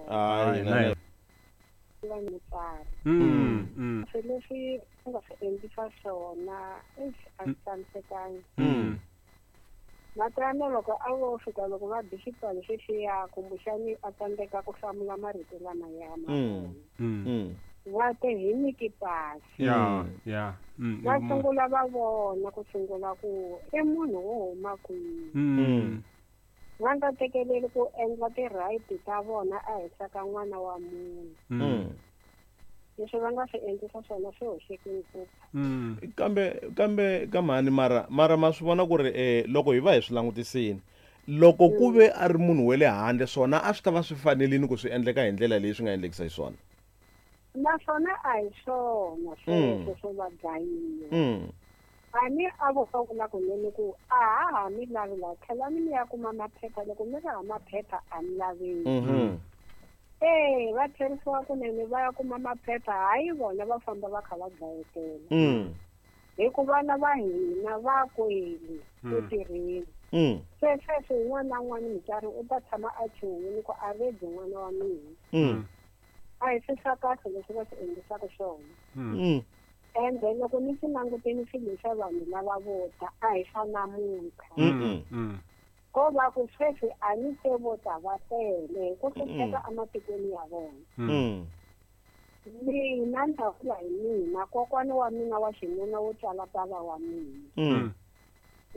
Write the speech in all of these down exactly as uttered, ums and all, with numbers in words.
Hayi, Hayi, na na va mutswari. Mm, mm, Swilo leswi u nga swi endlisa swona eish, a swi tshamisekanga. mm. Matana loko a vo fika loko va bi xipano xexiya kumbexani a tsandzeka ku hlamula marito lamaya ma Mm. vona. Mm. Mm. Va te hi nyiki pasi. Ya, Mm. ya. Mm, Va i mu- sungula va vona ku sungula ku i munhu wo huma kwihi. Mm. Va nga tekeleli ku endla ti-right ta vona ehenhla ka n'wana wa munhu. Mm. Mm. Leswi va nga swi endlisa swona swi hoxeke ngopfu. Mm. Kambe kambe ka mhani mara mara ma swi vona ku ri eh loko hi va hi swi langutisini loko ku ve a ri munhu wa le handle swona a swi ta va swi fanerile ku swi endleka hi ndlela leyi swi nga endlekisa xiswona. Naswona a hi swona sweswo swo va dlayiwa. Mm. A ni a vo va vula kunene ku a ha ha mi lavi laha tlhelani mi ya kuma maphepha loko mi ri hava maphepha a mi laveki. Mhm. E va tlherisiwa kunene va ya kuma maphepha hayi vona va famba va kha va dlayetela. Mm. Hi ku vana va hina va kwele ku Mm. tirheni. Mm. Se sweswi un'wana na un'wana mutswari u ta tshama a chuhile ku a redi n'wana wa mina. Mm. A hi swi swa kahle leswi va swi endlisaka swona. Mm. Mm. Ende loko ni swi langutile swilo swa vanhu lava vo ta a hi swa namuntlha. Mm. Mm. Ko va ku sweswi a ni se vo ta va tele hi ku hlupheka ematikweni ya vona. Mm. Mina ni ta vula hi mina kokwana wa mina wa xinuna wo tswala bava wa mina. Mm.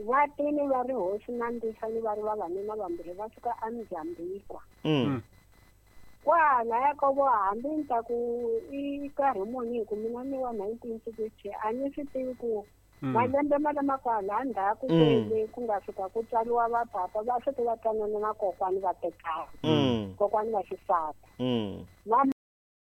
Va tile va ri hosi na Ndisani va ri vavanuna vambirhi va suka eMozambique. Mm. Kwalaya ka vo hambi ni ta ku i nkarhi muni hi ku mina ni wa nineteen sixty a ni swi tivi ku Mm. malembe ma lama kwala ndzhaku Mm. kwele ku nga fika ku tswariwa va papa va fike va twanana na kokwani va tekana. Mm. Kokwani va xisati. Mm. Va